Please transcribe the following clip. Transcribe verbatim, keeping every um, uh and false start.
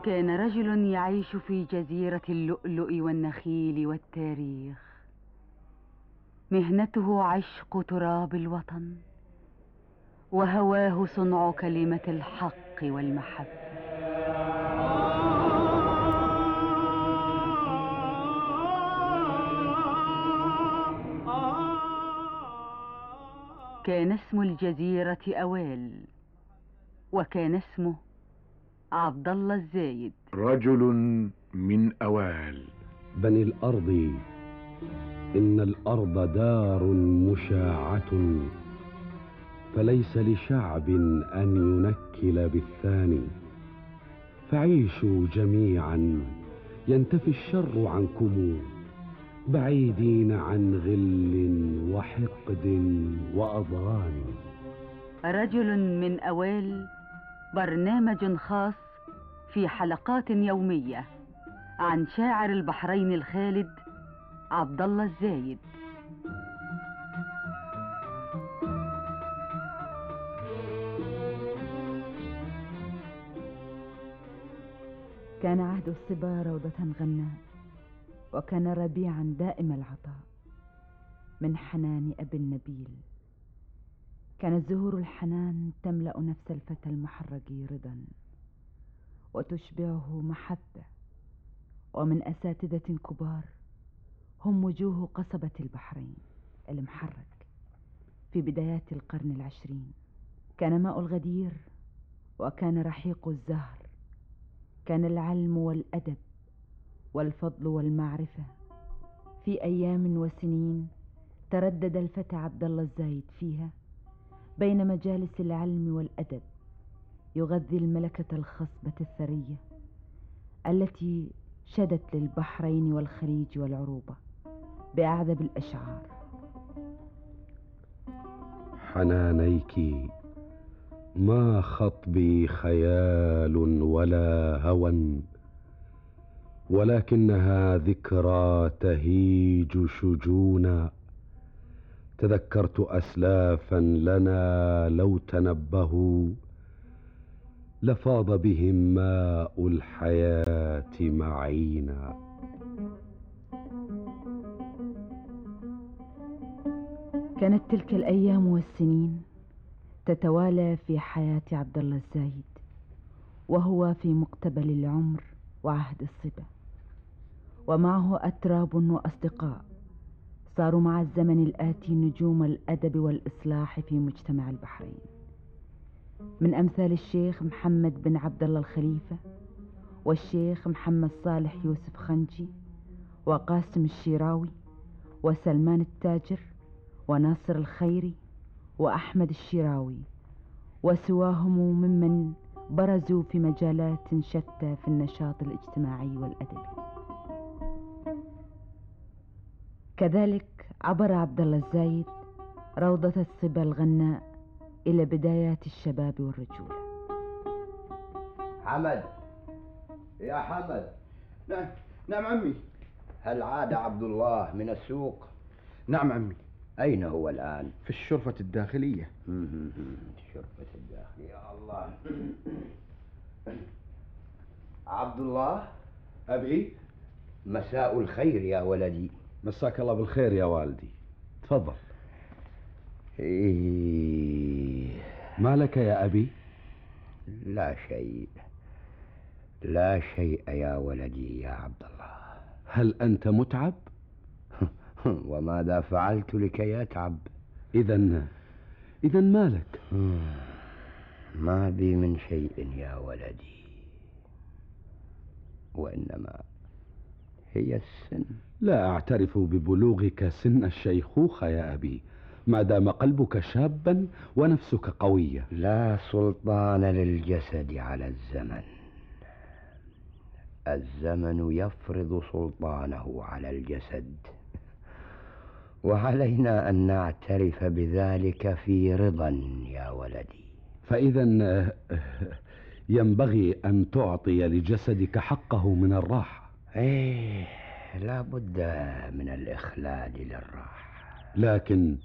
كان رجل يعيش في جزيرة اللؤلؤ والنخيل والتاريخ. مهنته عشق تراب الوطن، وهواه صنع كلمة الحق والمحبة. كان اسم الجزيرة أوال، وكان اسمه عبد الله الزايد. رجل من أوال. بني الأرض، إن الأرض دار مشاعة، فليس لشعب أن ينكل بالثاني. فعيشوا جميعا ينتفي الشر عنكم، بعيدين عن غل وحقد وأضغان. رجل من أوال، برنامج خاص في حلقات يومية عن شاعر البحرين الخالد عبد الله الزايد. كان عهد الصبا روضة غناء، وكان ربيعا دائم العطاء من حنان أبي النبيل. كانت زهور الحنان تملأ نفس الفتى المحرج رضا، وتشبعه محبة. ومن أساتذة كبار هم وجوه قصبة البحرين المحرك في بدايات القرن العشرين. كان ماء الغدير، وكان رحيق الزهر، كان العلم والأدب والفضل والمعرفة. في أيام وسنين تردد الفتى عبد الله الزايد فيها بين مجالس العلم والأدب، يغذي الملكة الخصبة الثرية التي شدت للبحرين والخليج والعروبة بأعذب الأشعار. حنانيك ما خطبي خيال ولا هوى، ولكنها ذكرى تهيج شجونا. تذكرت أسلافا لنا لو تنبهوا، لفاض بهم ماء الحياة معينا. كانت تلك الأيام والسنين تتوالى في حياة عبد الله الزايد، وهو في مقتبل العمر وعهد الصبا، ومعه أتراب وأصدقاء صاروا مع الزمن الآتي نجوم الأدب والإصلاح في مجتمع البحرين، من أمثال الشيخ محمد بن عبد الله الخليفة، والشيخ محمد صالح يوسف خنجي، وقاسم الشيراوي، وسلمان التاجر، وناصر الخيري، وأحمد الشيراوي، وسواهم ممن برزوا في مجالات شتى في النشاط الاجتماعي والأدبي. كذلك عبر عبد الله الزايد روضة الصبا الغناء إلى بدايات الشباب والرجولة. حمد، يا حمد. نعم نعم عمي. هل عاد عبد الله من السوق؟ نعم عمي. أين هو الآن؟ في الشرفة الداخلية. الشرفة الداخلية. يا الله. عبد الله. أبي. مساء الخير يا ولدي. مساك الله بالخير يا والدي، تفضل. إيه. ما لك يا أبي؟ لا شيء، لا شيء يا ولدي يا عبد الله. هل أنت متعب؟ وماذا فعلت لكي يتعب؟ إذن إذن ما لك؟ ما بي من شيء يا ولدي، وإنما هي السن. لا أعترف ببلوغك سن الشيخوخة يا أبي، ما دام قلبك شابا ونفسك قوية. لا سلطان للجسد على الزمن، الزمن يفرض سلطانه على الجسد، وعلينا أن نعترف بذلك في رضا يا ولدي. فإذا ينبغي أن تعطي لجسدك حقه من الراحة. إيه، لا بد من الإخلال للراحة. لكن